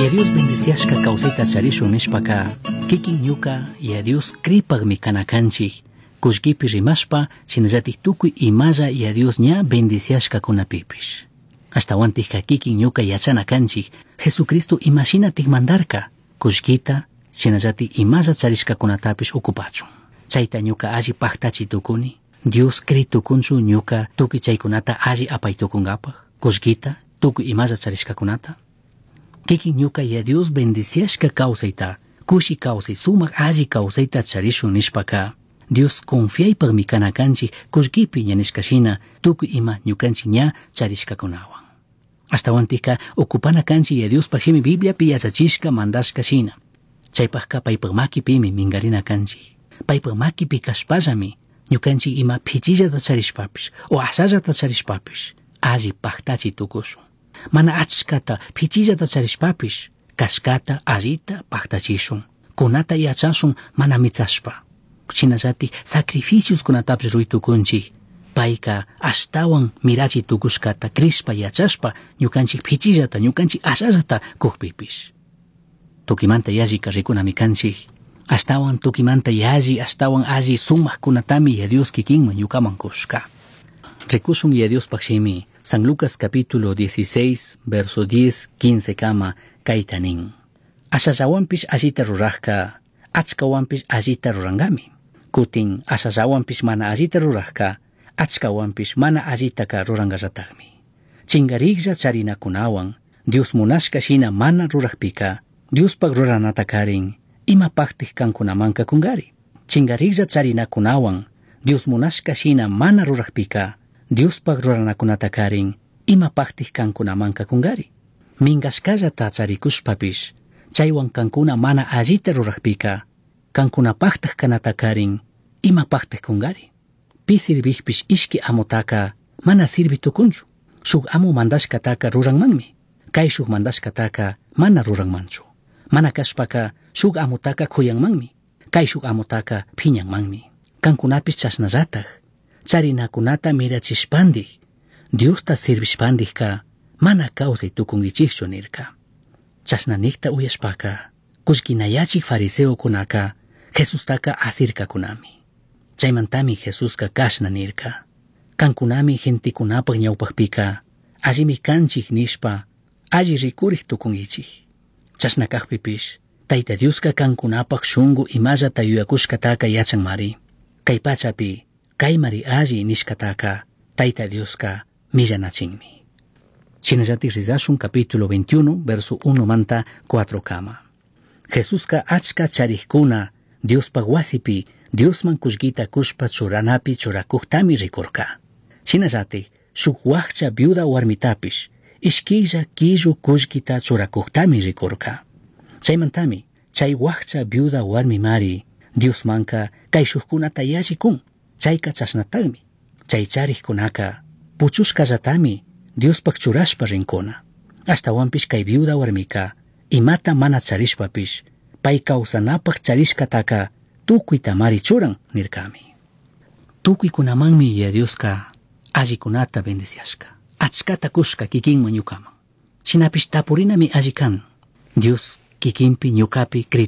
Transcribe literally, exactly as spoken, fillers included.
Yaya Dios bendiciashka kawsayta charishun nishpaka kikin ñuka Yaya Dios kripakmi kana kanchik kullkipi rimashpa shinallatik tukuy imalla Yaya Dios ña bendiciashkakunapipish. Ashtawantikka kikin ñuka yachana kanchik Jesucristo imashinatik mandarka kullkita shinallatik imalla charishkakunatapish ukupachun. Chayta ñuka alli paktachi tukuni Dios kri tukunchu ñuka tukuy chaykunata alli apay tukunkapaj kullkita tukuy imalla charishkakunata. Kikin ñuka Yaya Dios bendiciashka kawsayta kushi kawsay sumak alli kawsayta charishun nishpaka Dios confiaypakmi kana kanchik kullkipi ña nishka shina tukuy ima ñukanchik ña charishkakunawan. Ashtawantikka ukupana kanchik Yaya Diospaj shimi Bibliapi yachachishka mandashka shina. Chaypajka paypak makipimi minkarina kanchik. Paypak makipi kashpallami ñukanchik ima pichillata charishpapish o ashallata charishpapish alli paktachi tukushun. Mana achkata pichillata charishpapish kashkata allita paktachishun. Kunata yachashun mana mitsashpa. Shinallatik sacrificios kunatapish ruray tukunchik. Payka ashtawan mirachi tukushkata krishpa yachashpa ñukanchik pichillata ñukanchik ashallata kukpipish. Tukimanta yallika rikunami kanchik. Ashtawan tukimanta yalli ashtawan alli sumakkunatami Yaya Dios kikinman ñukaman kushka. Rikushun Yaya Diospaj shimi San Lucas capítulo dieciséis verso diez quince kama kayta nin. Ashallawanpish allita rurajka achkawanpish allita rurangami. Kutin ashallawanpish mana allita rurajka achkawanpish mana allitaka rurangallatakmi. Chingariklla charinakunawan Dios munashka shina mana rurajpika Diospaj ruranata karin imapaktik kankunamanka kungari. Chingariklla charinakunawan Dios munashka shina mana rurajpika Diospaj ruranakunata karin imapaktik kankunamanka kungari. Minkashkallata charikushpapish chaywan kankuna mana allita rurajpika kankunapaktak kanata karin imapaktak kungari. Pi sirvijpish ishki amutaka mana sirvi tukunchu. Shuk amu mandashkataka ruranmanmi. Kayshuk mandashkataka mana ruranmanchu. Mana kashpaka shuk amutaka kuyanmanmi. Kayshuk amutaka phiñanmanmi. Kankunapish chashnallatak charinakunata mirachishpandik Diosta sirvishpandikka mana kawsay tukunkichikchu nirka. Chashna nikta uyashpaka kullkinayachik fariseokunaka Jesustaka asirkakunami. Chaymantami Jesuska kashna nirka. Kankunami gentekunapak ñawpakpika allimi kanchik nishpa alli rikurik tukunkichik. Chashna kakpipish Tayta Dioska kankunapak shunku imallata yuyakushkataka yachanmari. Kay pachapi kaymari alli nishkataka Tayta Dioska millanachinmi. Shinallatik rizashun capítulo veintiuno verso uno manta cuatro kama. Jesuska achka charikuna Diospaj wasipi Diosman kullkita kushpa churanapi churakuktami rikurka. Shinallatik shuk wakcha viuda warmitapish ishkilla killu kullkita churakuktami rikurka. Chaymantami chay wakcha viuda warmimari Diosmanka kayshukkunata yalli kun. Chayka chashnatagmi. Chay charikkunaka puchushkallatami Diospaj churashpa rinkuna. Ashtawanpish kay viuda warmika imata mana charishpapish pay kawsanapaj charishkataka tukuytamari churan nirkami. Tukuykunamanmi Yaya Dioska allikunata bendiciashka. Achkata kushka kikinman ñukaman. Shinapish tapurinami alli kan. Dios kikinpi ñukapi kri